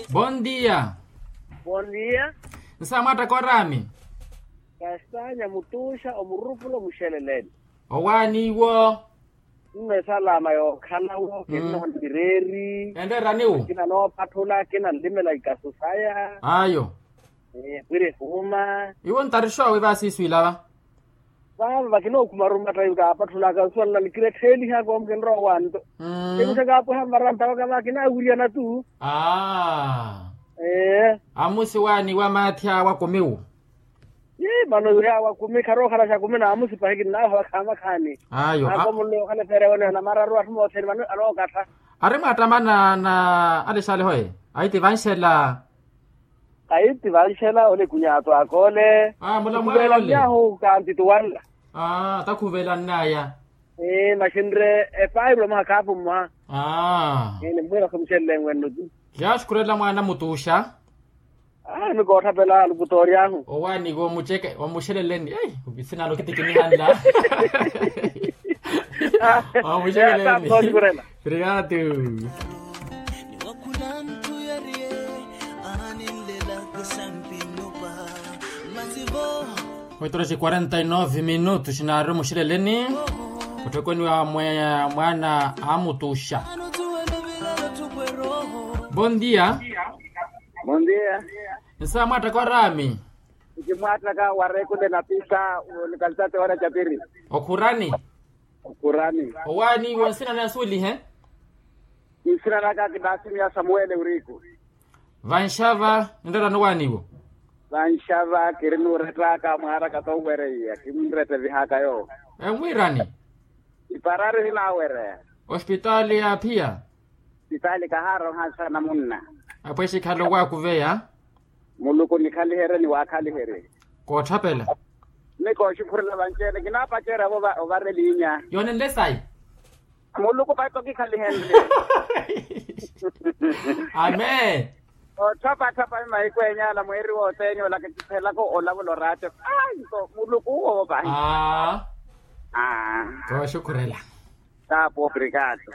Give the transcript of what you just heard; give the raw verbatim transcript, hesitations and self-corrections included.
Bon dia. Bon dia. Nsa mwaattaka oraami? Kastanya mutuxa omurupula omuxeleleni. Owaani iwo? Nno esalama yookhalawo kinnoona mireeri. Enreerani wu? Kina noopatthula kina nlimela ikasu saya. Ayo. Pwira ehuuma. Iwo ntarixoowi vaasiiswiilava? Vaava vakinookhuma rumatta kaapatthulaka nsuwanela nikirettheelihaka omukinrowa wanto. Ekuxa kaapweha mmarampa waka vaakinaawiriyana tu. Amusi waani wa maathi awa kumiwu? Mano yaawa kumi kharookhala xa kumi n'amusi pahi kinnaaha vakhaamakhani. Ayo. Akomunle okhala efeere wene namararu atthu moothene mano anookattha. Ari mwaattamana na alexaleho e? Ayi ti vanxela. Ayi ti vanxela ole kunyaato akoole. Mulamwaayo ole. Nyahu kanti tuwanla. Takhuvelannaya. Maxinre epairula mwaha khaapu mwaha. Nimmwiira somuxelele enwenno ti. Yaxukhurela mwaana mutuxa. Nikootthapela alukutoori ahu. Owaani iwo omuxeleleni. Ei, ovisinalo kitikinihanla. Omuxeleleni. Obrigado. Oito horas e quarenta e nove minutos naari omuxeleleni. Otthekweni wa mwaana amutuxa. Bon dia. Bon dia. Nsa mwaattaka oraami? Nci mwaattaka wareekule napisa. Onikalisate wala capiri. Okhurani? Okhurani. Owaani iwo nsina naya suulihe? Nsina naka kinaasimiya samuwele uriku. Vanxava enreerani owaani iwo? Vanxava kirinuurettaka mwaaraka toowereiya kimunrette vihaka yoowo. Enwiirani? Iparari hinaawereya. Ospitaali yaaphiya? Ospitaali kahaarooha nsa namunna. Apwexe khale owaakuveya. Muluku nikhaliherye niwaakhaliherye. Kootthapela. Ni kooxikhurela vanci-ene kinaapacerya-vo ovara eliinya. Yoonenle sayi. Muluku pahi tokikhalihenrye. Amen. Otthapatthapa ni mahiku eenyaala mweeri wothene ola kitthelaka olavula oraatyo. Ayi nto muluku uwo pahi. Kooxukhurela. Taapu obrigado.